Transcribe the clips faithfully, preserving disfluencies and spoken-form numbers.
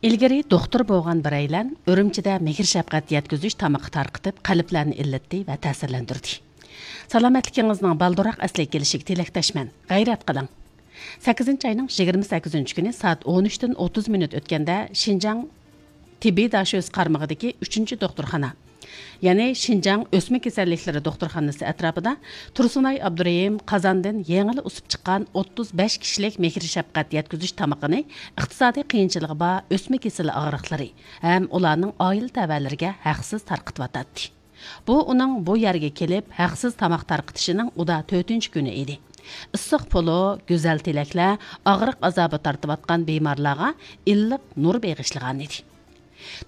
ئىلگىرى دوختۇر بولغان بىرەيلەن ئۈرۈمچىدە مېھىر-شەپقەت يەتكۈزۈش تامىقى تارقىتىپ، قەلبلەرنى ئىللىتتى ۋە تەسىرلەندۈردى. سالامەتلىكىڭىزنىڭ بالدۇرراق ئەسلىگە كېلىشىگە تىلەكداشمەن. غەيرەت قىلىڭ! سەككىزىنچى ئاينىڭ يىگىرمە سەككىزىنچى كۈنى سائەت ئون ئۈچتىن ئوتتۇز مىنۇت ئۆتكەندە، شىنجاڭ تېببىي داشۆسى قارمىقىدىكى ئۈچىنچى دوختۇرخانا، يەنى شىنجاڭ ئۆسمە كېسەللىكلىرى دوختۇرخانىسى ئەتراپىدا تۇرسۇنئاي ئابدۇرېھىم قازاندىن يېڭىلا ئۇسۇپ چىققان ئوتتۇز بەش كىشىلىك مېھىر-شەپقەت يەتكۈزۈش تامىقىنى ئىقتىسادىي قىيىنچىلىقى بار ئۆسمە كېسىلى ئاغرىقلىرى ھەم ئۇلارنىڭ ئائىلە تەۋەلىرىگە ھەقسىز تارقىتىۋاتاتتى. بۇ ئۇنىڭ بۇ يەرگە كېلىپ ھەقسىز تاماق تارقىتىشىنىڭ ئۇدا تۆتىنچى كۈنى ئىدى. ئىسسىق پولۇ، گۈزەل تىلەكلەر ئاغرىق ئازابى تارتىۋاتقان بىمارلارغا ئىللىق نۇر بېغىشلىغانىدى.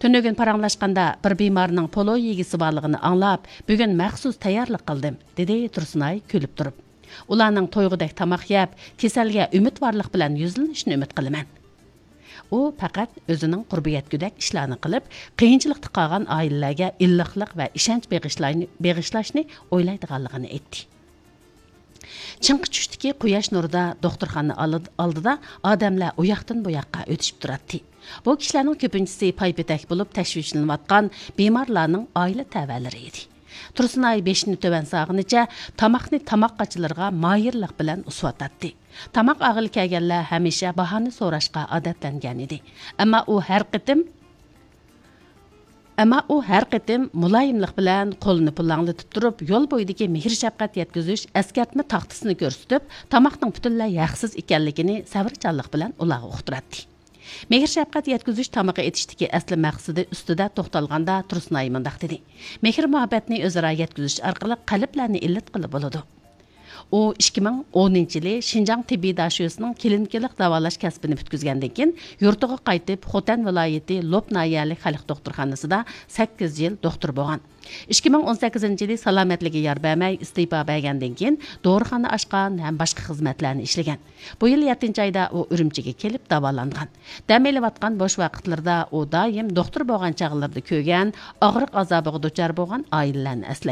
تۈنۈگۈن پاراڭلاشقاندا، بىر بىمارنىڭ پولۇ يېگۈسى بارلىقىنى ئاڭلاپ، بۈگۈن مەخسۇس تەييارلىق قىلدىم، دېدى تۇرسۇنئاي كۈلۈپ تۇرۇپ. ئۇلارنىڭ تويغۇدەك تاماق يەپ، كېسەلگە ئۈمىدۋارلىق بىلەن يۈزلىنىشىنى ئۈمىد قىلىمەن. ئۇ پەقەت ئۆزىنىڭ قۇربى يەتكۈدەك ئىشلارنى قىلىپ، قىيىنچىلىقتا قالغان ئائىلىلەرگە ئىللىقلىق ۋە ئىشەنچ بېغىشلاينى-، بېغىشلاشنى ئويلايدىغانلىقىنى ئېيتتى. چىڭقى چۈشتىكى قۇياش نۇرىدا دوختۇرخانا ئالد-، ئالدىدا ئادەملەر ئۇياقتىن بۇياققا ئۆتۈشۈپ تۇراتتى. بۇ كىشىلەرنىڭ كۆپىنچىسى پايپېتەك بولۇپ تەشۋىشلىنىۋاتقان بىمارلارنىڭ ئائىلە تەۋەلىرى ئىدى. تۇرسۇنئاي بېشىنى تۆۋەن سالغىنىچە تاماقنى تاماق قاچىلىرىغا ماھىرلىق بىلەن ئۇسۇۋاتاتتى. تاماق ئالغىلى كەلگەنلەر ھەمىشە باھانى سوراشقا ئادەتلەنگەن ئىدى. ئەمما ئۇ ھەر قېتىم، ئەمما ئۇ ھەر قېتىم مۇلايىملىق بىلەن قولىنى پۇلاڭلىتىپ تۇرۇپ، يول بويىدىكى مېھىر-شەپقەت يەتكۈزۈش ئەسكەرتمە تاختىسىنى كۆرسىتىپ، تاماقنىڭ پۈتۈنلەي ھەقسىز ئىكەنلىكىنى سەۋرچانلىق بىلەن ئۇلارغا ئۇقتۇراتتى. مېھىر-شەپقەت يەتكۈزۈش تامىقى ئېتىشتىكى ئەسلى مەقسىتى ئۈستىدە توختالغاندا، تۇرسۇنئاي مۇنداق دېدى: مېھىر-مۇھەببەتنى ئۆزئارا يەتكۈزۈش ئارقىلىق قەلبلەرنى ئىللىتقىلى بولىدۇ. ئۇ ئىككى مىڭ ئونىنچى يىلى شىنجاڭ تېببىي داشۆسىنىڭ كلىنىكىلىق داۋالاش كەسپىنى پۈتكۈزگەندىن كېيىن، يۇرتىغا قايتىپ، خوتەن ۋىلايىتى لوپ ناھىيەلىك خەلق دوختۇرخانىسىدا سەككىز يىل دوختۇر بولغان. ئىككى مىڭ ئون سەككىزىنچى يىلى سالامەتلىكى يار بەرمەي ئىستېپا بەرگەندىن كېيىن، دورىخانا ئاچقان ھەم باشقا خىزمەتلەرنى ئىشلىگەن. بۇ يىل يەتتىنچى ئايدا ئۇ ئۈرۈمچىگە كېلىپ داۋالانغان. دەم ئېلىۋاتقان بوش ۋاقىتلىرىدا ئۇ دائىم دوختۇر بولغان چاغلىرىدا كۆرگەن، ئاغرىق ئازابىغا دۇچار بولغان ئائىلىلەرنى ئەسلەيدۇ.